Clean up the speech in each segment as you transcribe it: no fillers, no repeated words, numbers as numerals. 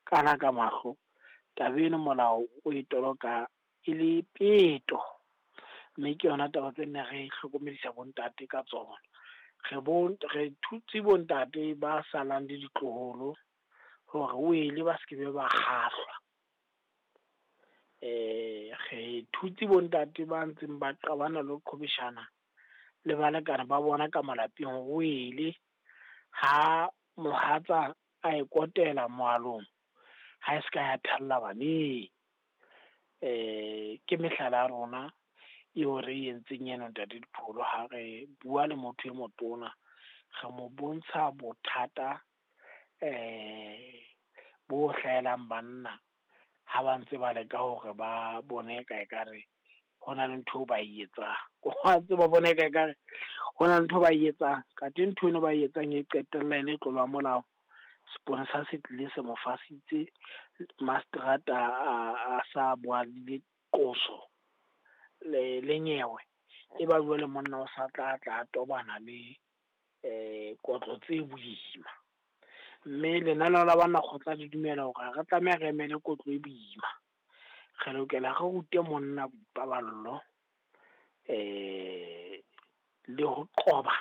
Kana ka mahlo, taba eno molao o e toloka e le peto. Mme ke yona taba tse nne re hlokomedisa bo ntate ka tsona. Re re thutse bo ntate ba salang le ditloholo hore wele ba se kebe ba kgahlwa. Re thutse bo ntate ba ntseng ba qabana le ho qhwebeshana le balekane ba bona ka malapeng hore wele! Ha mohatsa a e kotela moalong, ha e se ka ya thella baneng. Ke mehlala ya rona eo re e entseng eno ntate Dipholo ha re bua le motho e motona, re mo bontsha bothata bo hlahelang banna ha ba ntse ba leka hore ba bone ka ekare hona le ntho eo ba e etsang. Wa tseba ba bona eka ekare hona le ntho e ba e etsang, kate ntho eno ba e etsang e qetella e le tlolo ya molao. Seponesa se tlile se mo fasitse, maseterata a sa qoso le nyewe. E ba jwale monna o sa tla tla tobana le kotlo tse boima. Mme lenaneo la banna kgotla le dumela hore ha re tlameha re emele kotlo e boima. Re lokela re rute monna boipaballo le ho qoba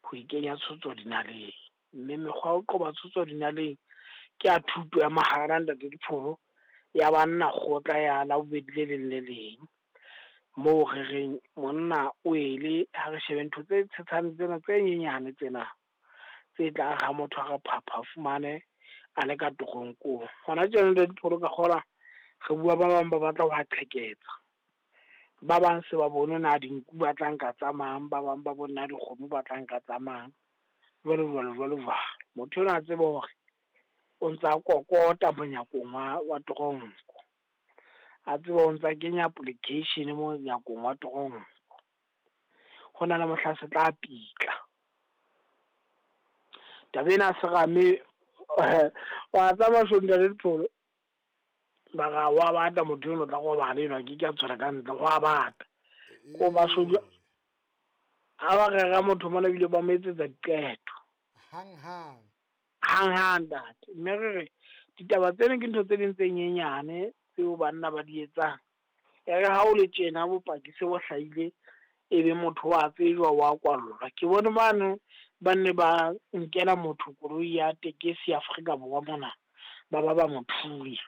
ho ikenya tshotso dinaleng. Mme mekgwa ya ho qoba tshotso dinaleng ke ya thuto ya mahala ntate Dipholo, ya banna kgotla ya Labobedi le leng le leng. Moo re reng monna wele ha re shebe ntho tse tshetshane tsena tse nyenyane tsena, tse tlang ha motho a re phapha o fumane a le ka toronkong. Hona tjena ntate Dipholo ka kgolwa re bua ba bang ba batla ho a qheketsa, ba bang se ba bone na dinku ba tla nka tsa mang, ba bang ba bone na dikgomo ba tla nka tsa mang, jwalo jwalo jwalo jwalo. Motho enwa a tsebe hore o ntsa kokota monyakong wa toronko, a tsebe o ntsa kenya application monyakong wa toronko. Hona le mohla se tla pitla. Taba ena serame wa tseba ntate Dipholo, mara wa bata motho enwa o tla robala enwa a keke a tswela ka ntle, ho a bata. Ko bashodu ha ba rera motho mona ebile ba mo etsetsa diqeto. Hang-hang. Hang-hang ntate. Mme re re ditaba tsena ke ntho tse ding tse nyenyane tseo banna ba di etsang. E re ha o le tjena bopaki se bo hlahile, ebe motho wa tsejwa wa kwallwa. Ke bone mane ba nne ba nkela motho koloi ya tekesi Afrika Borwa mona, ba ba mo thunya.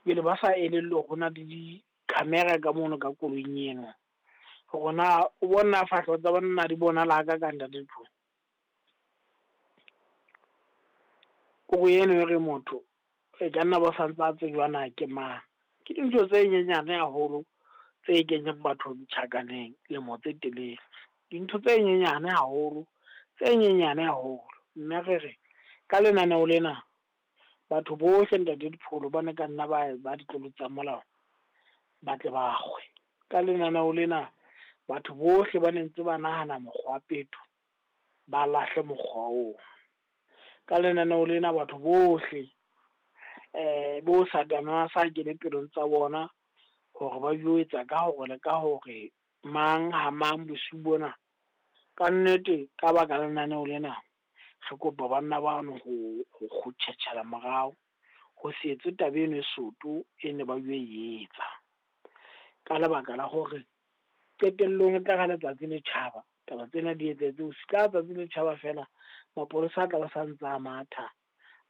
Pele ba sa elellwe hore hona le di-camera ka mono ka koloing eno. Hore na o bone na fahleho tsa banna di bonahala hakakang ntate Dipholo. Kore eno e re motho e ka nna ba santse a tsejwa na ke mang. Ke dintho tse nyenyane haholo tse kenyang batho tjhankaneng lemo tse telele. Dintho tse nyenyane haholo, tse nyenyane haholo. Mme re re ka lenaneo lena, batho bohle ntate Dipholo bane ka nna ba ditlolo tsa molao ba tle ba kgwe. Ka lenaneo lena, batho bohle ba ne ntse ba nahana mokgwa wa peto ba lahle mokgwa oo. Ka lenaneo lena batho bohle bo satane a sa kene pelong tsa bona hore ba yo etsa ka hore le ka hore mang ha mang bosiu bona. Ka nnete ka baka la lenaneo lena, re kopa banna bano ho tjhetjhela morao ho se etse taba eno e soto e ne ba yo e etsa. Ka lebaka la hore qetellong e tlare ha letsatsi le tjhaba, taba tsena di etsahetse ka letsatsi le tjhaba feela, mapolesa a tla ba sa ntsa a matha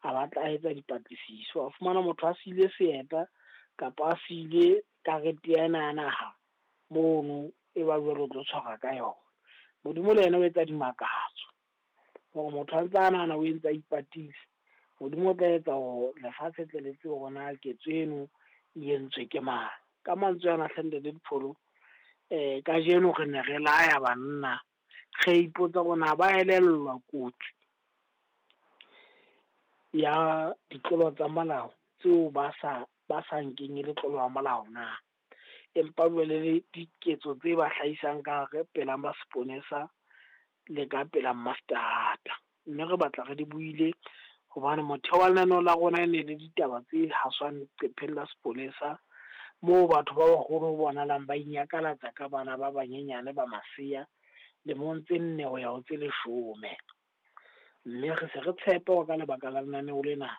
a batla a etsa dipatlisiso. A fumana motho a siile seeta kapa a siile karete ena ya naha mono, e ba jwale o tlo tshwarwa ka yona. Modimo le yena o etsa dimakatso hore motho a ntsa nahana o entse a ipatile, Modimo o tla etsa hore lefatshe tle le tsebe hore na ketso eno e entswe ke mang. Ka mantswe ana hle ntate Dipholo, kajeno re ne re laya banna, re ipotsa hore na ba elellwa kotsi ya ditlolo tsa molao tseo ba sa nkeng ele tlolo ya molao na? Empa jwale le diketso tse ba hlahisang ka hare pela ma seponesa le ka pela maseterata. Mme re batla re di buile hobane motheo wa lenaneo la rona e ne le ditaba tse haswang leqepheng la sepolesa, moo batho ba baholo ho bonahalang ba inyakalatsa ka bana ba banyenyane ba masea lemong tse 4 ho ya ho tse 10. Mme re se re tshepa hore ka lebaka la lenaneo lena.